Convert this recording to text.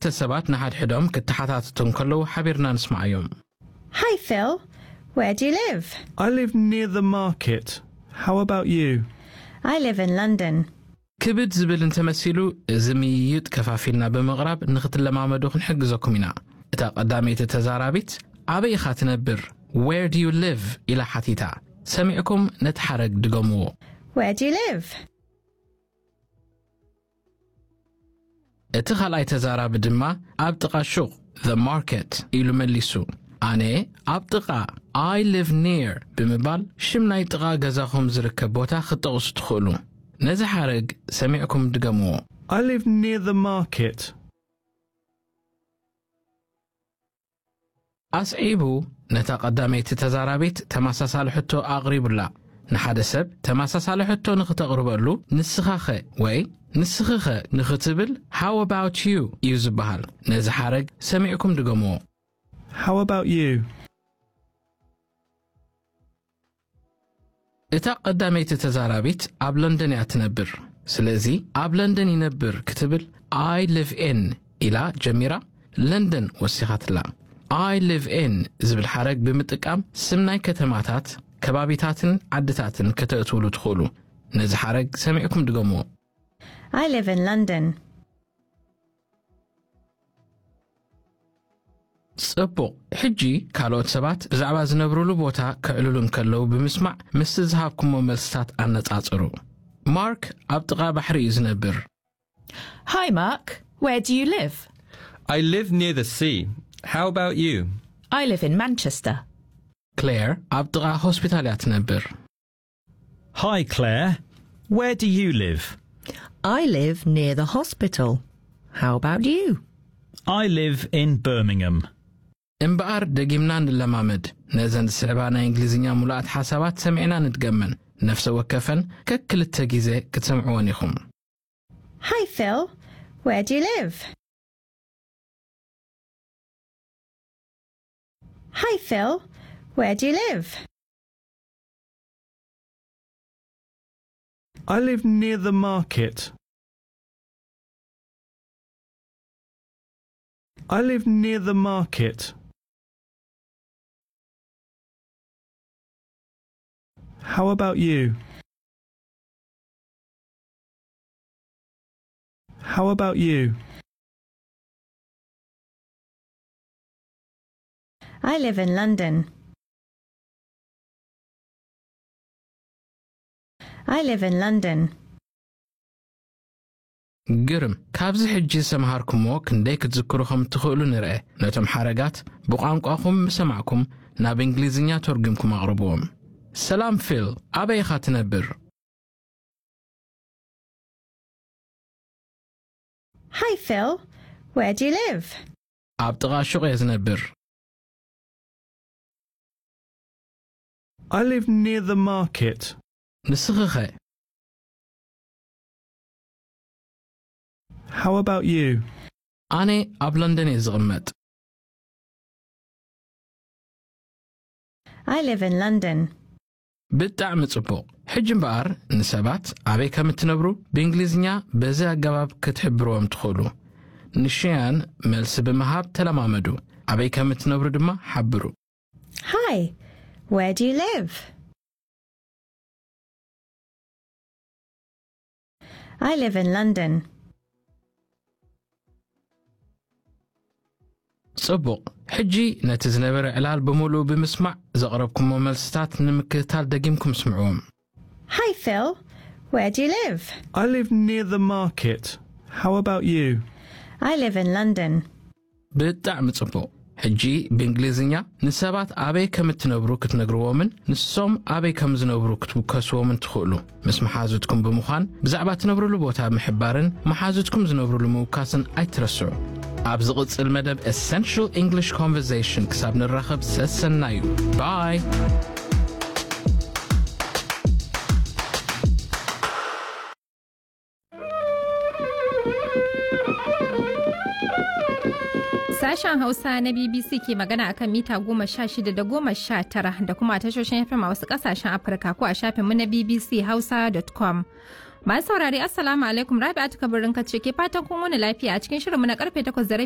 ክልተ ሰባት ንሓድሕዶም ክተሓታተቱ እንከለዉ ሓቢርና ንስምዓዮም። Hi, Phil. Where do you live? I live near the market. How about you? I live in London. ክብድ ዝብል እንተመሲሉ፣ እዚ ምይይጥ ከፋፊልና ብምቕራብ ንኽትለማመዱ ክንሕግዘኩም ኢና። እታ ቀዳመይቲ ተዛራቢት፣ ኣበይ ኢኻ ትነብር? Where do you live? ኢላ ሓቲታ። ሰሚዕኩም ነቲ ሓረግ ድገምዎ። Where do you live? እቲ ካልኣይ ተዛራቢ ድማ፣ ኣብ ጥቓ ሹቕ፣ the market፣ ኢሉ መሊሱ። ኣነ ኣብ ጥቓ፣ I live near፣ ብምባል ሽም ናይ ጥቓ ገዛኹም ዝርከብ ቦታ ክትጠቕሱ ትኽእሉ። ነዚ ሓረግ ሰሚዕኩም ድገምዎ። I live near the market. ኣስዒቡ ነታ ቀዳመይቲ ተዛራቢት ተመሳሳሊ ሕቶ ኣቕሪቡላ። ንሓደ ሰብ ተመሳሳሊ ሕቶ ንኽተቕርበሉ፣ "ንስኻኸ?" ወይ "ንስኽኸ?" ንኽትብል፣ "How about you?" እዩ ዝበሃል። ነዚ ሓረግ ሰሚዕኩም ድገምዎ። How about you? እታ ቀዳመይቲ ተዛራቢት ኣብ ለንደን እያ ትነብር። ስለዚ ኣብ ለንደን ይነብር ክትብል፣ "I live in" ኢላ ጀሚራ፣ ለንደን ወሲኻትላ። "I live in" ዝብል ሓረግ ብምጥቃም ስም ናይ ከተማታት፣ ከባቢታትን ዓድታትን ከተእትውሉ ትኽእሉ። ነዚ ሓረግ ሰሚዕኩም ድገምዎ። I live in London. ጽቡቕ። ሕጂ ካልኦት ሰባት ብዛዕባ ዝነብሩሉ ቦታ ከዕልሉ እንከለዉ ብምስማዕ፣ ምስቲ ዝሃብኩሞ መልስታት ኣነጻጽሩ። ማርክ ኣብ ጥቓ ባሕሪ እዩ ዝነብር። Hi, Mark. Where do you live? I live near the sea. How about you? I live in Manchester. ክሌር ኣብ ጥቓ ሆስፒታል እያ ትነብር። Hi, Claire. Where do you live? I live near the hospital. How about you? I live in Birmingham. እምበኣር፣ ደጊምና ንለማመድ። ነዘን ዝስዕባ ናይ እንግሊዝኛ ሙሉኣት ሓሳባት ሰሚዕና ንድገመን። ነፍሰ ወከፈን ከክልተ ግዜ ክትሰምዕወን ኢኹም። Hi, Phil. Where do you live? Hi, Phil. Where do you live? I live near the market. I live near the market. How about you? How about you? I live in London. I live in London. ግርም። ካብዚ ሕጂ ዝተምሃርኩሞ ክንደይ ክትዝክሩ ከም እትኽእሉ ንርአ። ነቶም ሓረጋት ብቋንቋኹም ምስ ሰማዕኩም ናብ እንግሊዝኛ ተርጒምኩም ኣቕርብዎም። ሰላም ፊል፣ ኣበይ ኢኻ ትነብር? Hi, Phil. Where do you live? ኣብ ጥቓ ሹቕ እየ ዝነብር። I live near the market. ንስኺ ኸ? How about you? ኣነ ኣብ ለንደን እየ ዝቕመጥ። I live in London. ብጣዕሚ ጽቡቕ። ሕጂ እምበኣር፣ ንሰባት ኣበይ ከም እትነብሩ ብእንግሊዝኛ በዚ ኣገባብ ክትሕብርዎም ትኽእሉ። ንሽያን መልሲ ብምሃብ ተለማመዱ። ኣበይ ከም እትነብሩ ድማ ሓብሩ። Hi, where do you live? I live in London. ጽቡቕ። ሕጂ ነቲ ዝነበረ ዕላል ብምሉኡ ብምስማዕ፣ ዘቕረብኩሞ መልስታት ንምክትታል ደጊምኩም ስምዕዎም። Hi, Phil. Where do you live? I live near the market. How about you? I live in London. ብጣዕሚ ጽቡቕ። ሕጂ ብእንግሊዝኛ ንሰባት ኣበይ ከም እትነብሩ ክትነግርዎምን ንሶም ኣበይ ከም ዝነብሩ ክትውከስዎምን ትኽእሉ። ምስ መሓዙትኩም ብምዃን ብዛዕባ እትነብሩሉ ቦታ ምሕባርን መሓዙትኩም ዝነብሩሉ ምውካስን ኣይትረስዑ። ኣብ ዝቕጽል መደብ Essential English Conversation ክሳብ ንራኸብ ሰሰናዩ። ባይ። Sashen Hausa na B B C ke magana a kan mita goma sha shida da goma sha tara da kuma tashoshin F M a wasu ƙasashen Afirka ko a shafinmu na B B C Hausa dot com. Masu saurari, Assalamu alaikum. Rabi'atu Kabirin Kace ke fatan kun wani lafiya a cikin shirinmu na karfe takwas da rabi